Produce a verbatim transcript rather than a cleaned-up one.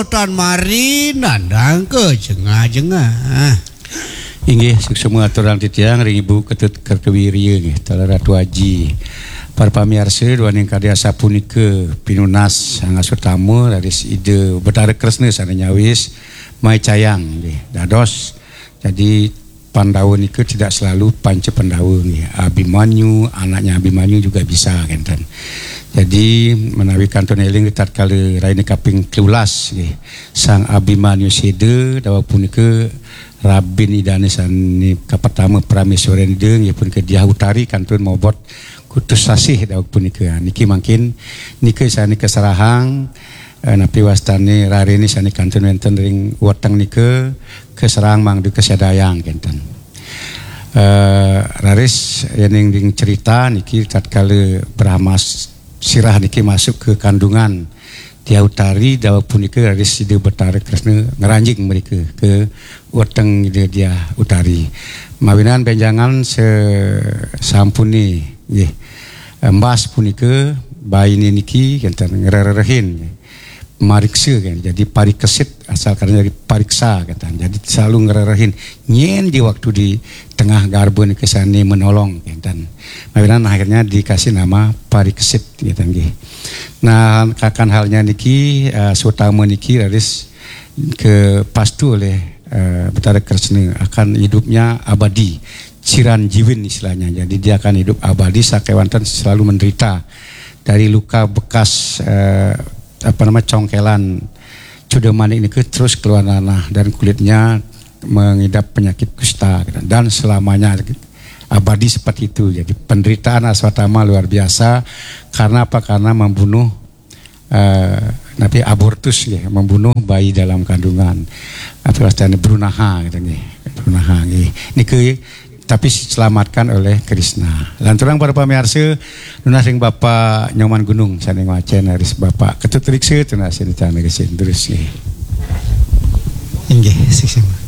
Tan mari nandang ka jengah-jengah. Inggih, suksma aturang titiang ring Ibu Ketut Kertawirya nggih, taler Ratu Aji. Para pamiarsa, duaning kadi asapunika pinunas sang asutama raris Ida Betara Kresna sane nyawis maicayang nggih. Dados, jadi Pandawa nika tidak selalu Panca Pandawa nggih. Abimanyu, anaknya Abimanyu juga bisa kenten. Jadi menawi kantun eling tatkala raina kaping telulas nggih. Sang Abimanyu Seda daweg punika rabin idane sane kapertama Prameswaren Ida nggih punika Diah Utari kantun mobot kutus sasih daweg punika. Niki mangkin nika sane kaserahang eh, napi wastane rarene sane kantun wenten ring weteng nika kaserahang mangda kasadayang kenten. Eh, raris yening ring cerita niki tatkala Brahma s- Sirah niki masuk ke kandungan Diah Utari daweg punika raris Ida Betara Kresna ngranjing mrika ke weteng Ida Diah Utari. Mawinan benjangan se- sampune nggih embas punika baine niki kenten ngrerehin mariksa kan. Jadi parikesit asal karena dari pariksa kenten. Jadi selalu ngrerehin nyen di waktu di tengah garba nika sane menolong kenten. Mawinan akhirnya dikasih nama parikesit kenten nggih. Nah, kakan halnya niki eh, sutama niki raris ke pastu oleh eh, Betara Kresna akan hidupnya abadi, ciran jiwin istilahnya. Jadi dia akan hidup abadi sakewanten selalu menderita dari luka bekas eh, apa nama congkelan Cuda Manik niki terus keluar nanah dan kulitnya mengidap penyakit kusta dan selamanya abadi seperti itu. Jadi penderitaan Aswatama luar biasa karena apa? Karena membunuh eh, napi abortus nggih, membunuh bayi dalam kandungan. Apa wastane brunaha gitu nggih. Brunaha nggih. Niki tapi diselamatkan oleh Krishna. Lanturang para pamiarsa nunas ring Bapak Nyoman Gunung sane ngwacen raris Bapak Ketut Riksa tunas ring tana gesin terus nggih. Inggih, siksema.